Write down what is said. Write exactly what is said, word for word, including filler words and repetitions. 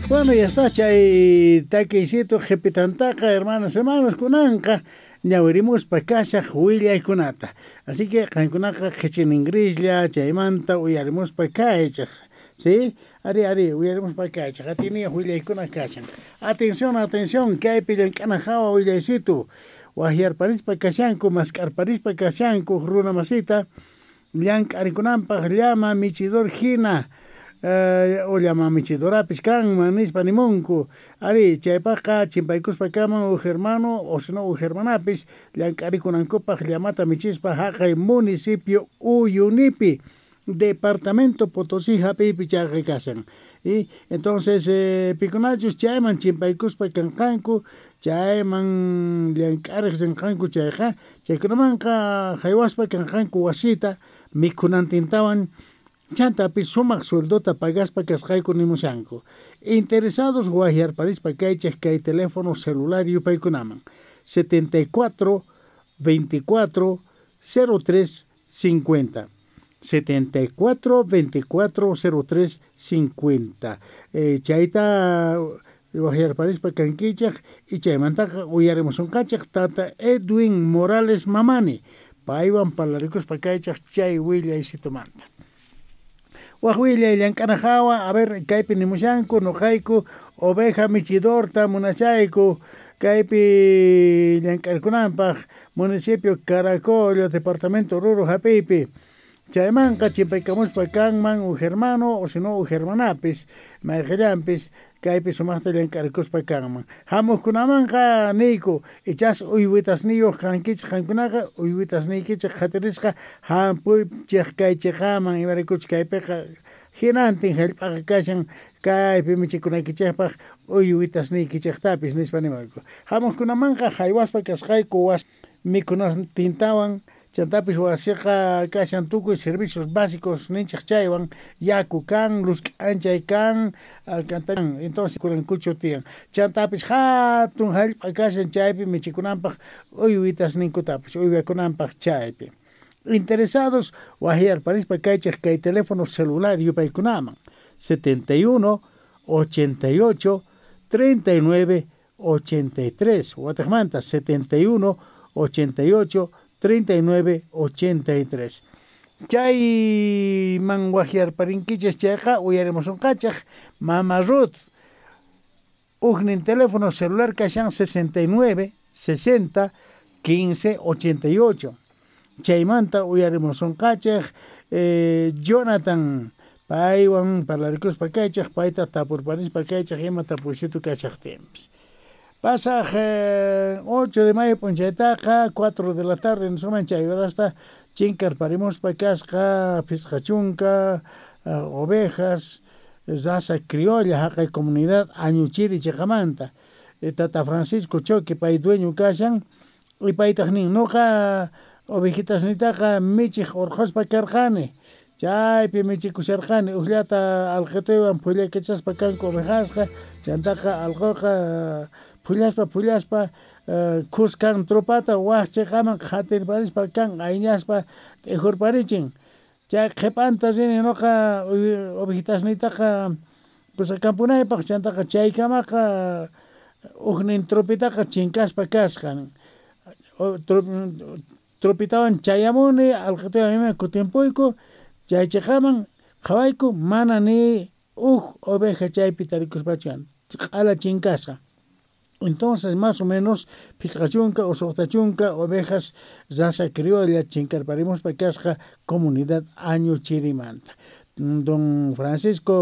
Bueno, ya está, chay takiysito qhipitantaqa, hermanos, hermanos, kunanqa ñawirimuspa kashaq willaykunata. Así que qankunaqa qhichininrislla chaymanta uyarimuspa kaychaq. ¿Sí? Ari, ari, uyarimuspa kaychaq. Atiniyaq willaykuna kashan. Atención, atención, kaypi llank'ana hawa willaysitu. Waqyarparispa kashanku, mask'arparispa kashanku runa masita llank'arikunanpaq llama michidor hina eh, o llama michidorapis kanman nispa nimunku. Ari, chaypaqqa chimpaykuspa kaman huk hermano o sino huk hermanapis llank'arikunankupaq llamata michispa haqay municipio Uyunipi, departamento Potosí hap'iypi chayqa kashan. Y entonces eh, pikunachus chayman chimpaykuspa kanqanku, chayman llank'ariq rinqanku chayqa, chaykunamanqa haywaspa kanqanku wasita mikhunantintawan chantapis sumaq sueldota pagaspa kasqayku nimushanku. Interesados waqyarparispa kaychaq kay teléfono celular yupaykunaman setenta y cuatro veinticuatro cero tres cincuenta, setenta y cuatro veinticuatro cero tres cincuenta. eh, chayta waqyarparispa kankichaq y chaymantaqa uyarimusunqachaq tata Edwin Morales Mamani, paywan parlarikuspa kaychaq chay willaysitumanta. Waq willay llank'ana hawa, a ver, kaypi nimushanku: "Nuqayku oveja michidorta munachayku kaypi llank'arkunanpaq municipio Caracollo, departamento Oruro hap'iypi". Chaymanqa chimpaykamuspa kanman huk hermano o sino huk hermanapis, mayqillanpis kaypi sumaqta llank'arikuspa kanman. Hamuqkunamanqa niyku: ichas uywitasniyuq kankichik qankunaqa, uywitasniykichik qhatirisqa hampuychik kay chiqaman, imaraykuchus kaypiqa hinantin hallp'aqa kashan kaypi michikunaykichikpaq uywitasniykichiktapis, nispa nimayku. Hamuqkunamanqa haywaspa kasqayku was mikhunantintawan, chantapis wasiqa kashan tukuy servicios básicos ninchik chaywan: yaku kan, luz k'anchay kan, alcantarilla, entonces kurankuchu tiyan. Chantapis hatun hallp'a kashan chaypi michikunanpaq uywitasninkutapis uywakunanpaq chaypi. Interesados waqyarparispa kaychik kay teléfono celular yupaykunaman setenta y uno ochenta y ocho treinta y nueve ochenta y tres, watiqmanta setenta y uno ochenta y ocho treinta y nueve ochenta y tres. Chayman waqyarparinkichik chayqa uyarimusunqachik mama Ruth. Huknin teléfono celular kashan sesenta y nueve sesenta quince ochenta y ocho. Chaymanta uyarimusunqachik eh, Jonathan, paywan parlarikuspa kaychik, payta tapurparispa kaychik ima tapuysitu kashaqtinpis. Pasaq eh, ocho de mayo p'unchaytaqa cuatro de la tarde nisuman chay horasta chinkarparimuspa kasqa phisqa chunka uh, ovejas raza criolla haqay comunidad Añuchiri chiqamanta. Tata Francisco Choque pay dueño kashan y paytaq nin: "Nuqa ovejitasnitaqa michiq urquspa karqani, chaypi michikusharqani, ukllata alqituywan phullakachaspa kanku ovejasqa, chantaqa allquqa phullaspa phullaspa khuskan tropata wak chiqaman qhatirparispa kan ayñaspa t'ijurparichin. Chay qhipanta rini nuqa ovejitasniytaqa pusakampunaypaq, chantaqa chaykamaqa uknin tropitaqa chinkaspa kasqa. Tropitawan chayamuni, allqituywan ima kutimpuyku chay chiqaman, qhawayku, mana ni huk oveja chaypi tarikuspachu, q'ala chinkasqa". Entonces, más o menos phisqa chunka o suqta chunka ovejas raza criolla chinkarparimuspa kasqa comunidad Añuchirimanta. Don Francisco